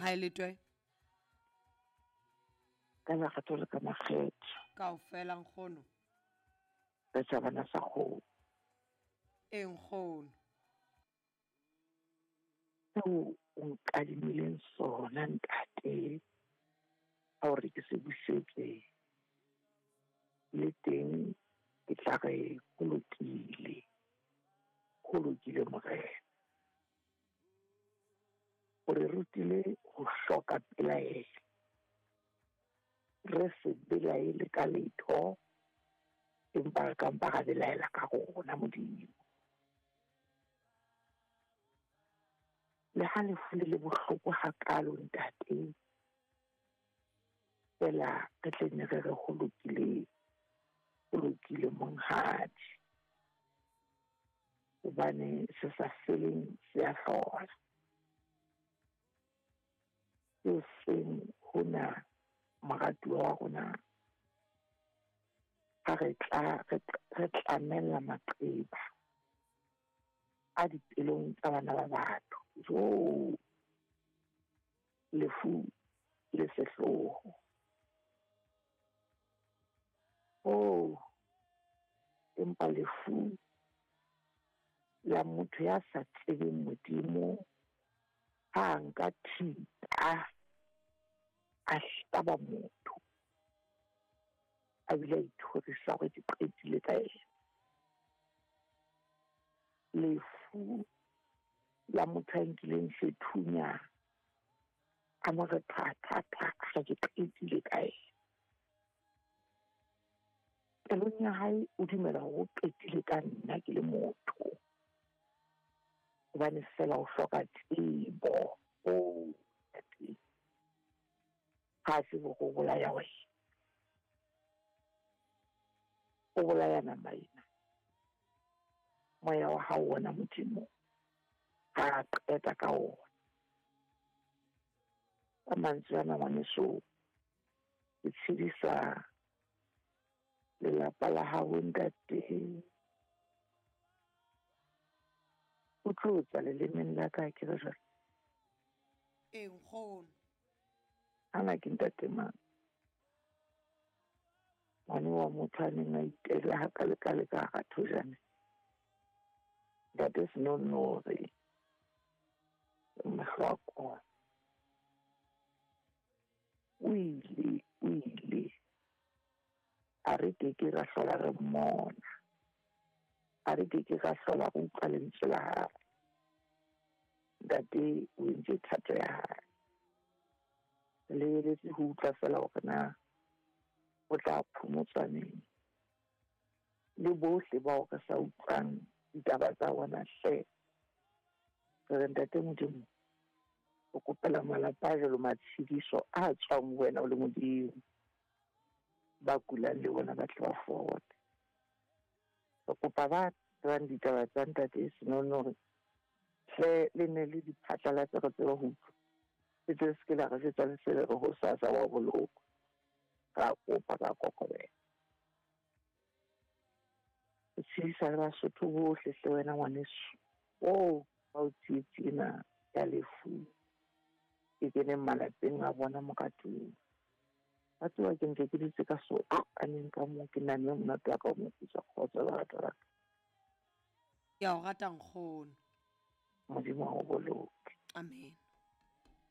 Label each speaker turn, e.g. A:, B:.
A: Ha e le twe.
B: Ka lerato le ka makgetho.
A: Kaofela nkgono.
B: Re tjhabana sa kgomo.
A: Ee nkgono.
B: Seo o nkadimileng sona ntate, ka hore ke se busetse le teng ke tla re ho lokile. Ho lokile morena. O re rutile ho hloka pelaelo. Re se belaele ka letho, empa re ka mpa ra belaela ka rona Modimo. Le ha lefu le le bohloko hakalo ntate, feela re tle nne re re ho lokile, ho lokile monghadi. Hobane se sa feleng se a hlola. E seng hona moratuwa wa rona ha re tla re tlamella maqeba a dipelong tsa bana ba batho. Jo! Lefu le sehloho. Oh, empa lefu la motho ya sa tsebeng Modimo ha nka thipa a hlaba motho a bile a ithorisa hore ke qetile ka yena. Lefu la motho a nkileng sethunya a mo re tha tha tha, a re ke qetile ka yena. Pelong ya hae o dumela hore o qetile ka nna ke le motho. Hobane feela o hloka tsebo. Oh, ntate. Ha tsebe hore o bolaya wena. O bolaya nama ena. Moya wa hao wona Modimo ha qeta ka ona. Ka mantswe ana ngwaneso, ke tshedisa lelapa la hao ntate. O tlo tswa lelemeng la ka ke re jwale.
A: Ee nkgono.
B: Ana ke ntate mang? Ngwane wa motho a neng a itela hakale-kale ka hara thojane. Ntate Senonoore, mahlo a kona. O ile, o ile. A re keke ra hlola re mmona. A re keke ra hlola re utlwa lentswe la hae. Ntate o entse thato ya hae. Re lebeletse ho utlwa feela hore na o tla phomotswa neng. Le bohle bao re sa utlwang ditaba tsa bona hle. Re re ntate Modimo, o kopela malapa a jwalo matshediso a tswang ho wena o le Modimo. Ba kulang le bona ba tle ba fole. Re kopa ba tsebang ditaba tsa ntate Senonoore hle le ne le di phatlalatse re tsebe ho utlwa. Le tle se ke la re jwetsa le se le re hosasa wa bolokwa. Ra kopa ka kokobela. Re tshedisa le Basotho bohle hle wena ngwaneso. Oh, ba o tsietsi ena ya lefu e keneng malapeng a bona moratuwa. Wa tseba ke ntse ke dutse ka so aneng ka moo ke namme monate wa ka o moputswa kgotso lerato la ka.
A: Ke a o rata nkgono.
B: Modimo a o boloke.
A: Amen.